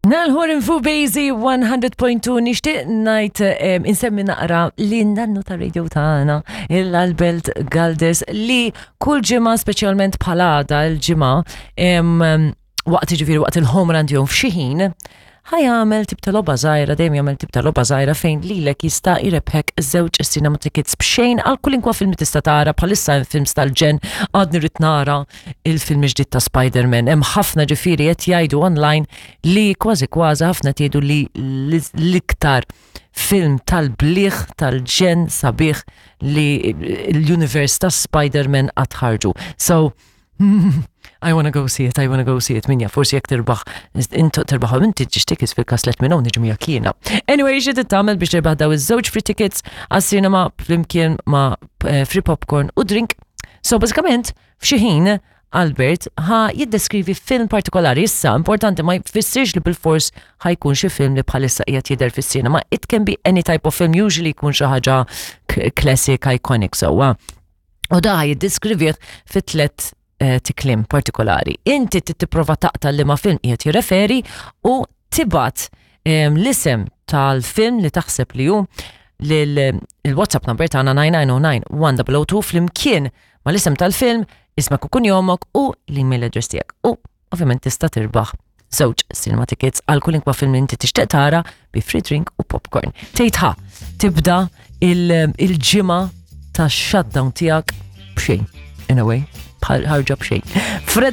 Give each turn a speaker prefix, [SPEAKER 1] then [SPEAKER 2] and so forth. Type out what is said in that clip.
[SPEAKER 1] Nalħor infu Bejzi 100.2 nixtieq ngħid insemmi naqra li nannu ta' radio tagħna il-Albert Galdes li kull ġimgħa speċjalment bħala għada l-ġimgħa waqt ġifieri waqt il-home run tiegħu f'xi ħin ħa jagħmel tip ta' logħba żgħira, dejjem jagħmel tip ta' logħba żgħira fejn lilek jista' jrebħek żewġ cinema tickets b'xejn għal kulinkwa film li tista' tara bħalissa hemm films tal-ġen għadni rrid nara il-film ġdid ta' Spider-Man. Hemm ħafna ġifieri qed jgħidu online li kważi kważi ħafna tgħidu li l-iktar film tal-bliħ tal-ġen sabiħ li l-univers ta' Spider-Man qatt ħarġu. So, I wanna go see it, I wanna go see it, minja, forsi jek tirbaħ, intu tirbaħ inti ġiġ tickets fil-kas let minn niġu miegħek jiena. Anyway, xi tagħmel biex tirbaħ daw iż-żewġ free tickets għas-cinema flimkien ma' eh, free popcorn u drink. So, bażikament, f'xi ħin Albert ħa jiddeskrivi film partikolari issa importanti ma jfissirx li bil-fors ħajkun xi film li bħalissa qiegħed jidher fis-cinema. It can be any type of film, usually jkun xi ħaġa classic, iconic sewwa. U da jiddeskrivih fi tlet eh, tiklim partikolari. Inti tipprova taqta' li ma film qiegħed jirreferi u tibgħat l-isem tal-film li taħseb li hu lil-WhatsApp number tagħna 9909 1002 flimkien ma l-isem tal-film, ismek u kunjomok u l-email address tiegħek. U ovvjament tista' tirbaħ żewġ cinema tickets għal kulinkwa film li inti tixtieq tara bi free drink u popcorn. Tgħid ħa tibda il-ġimgħa ta' shutdown tiegħek b'xejn. In a way, ħarġa b'xejn. Freda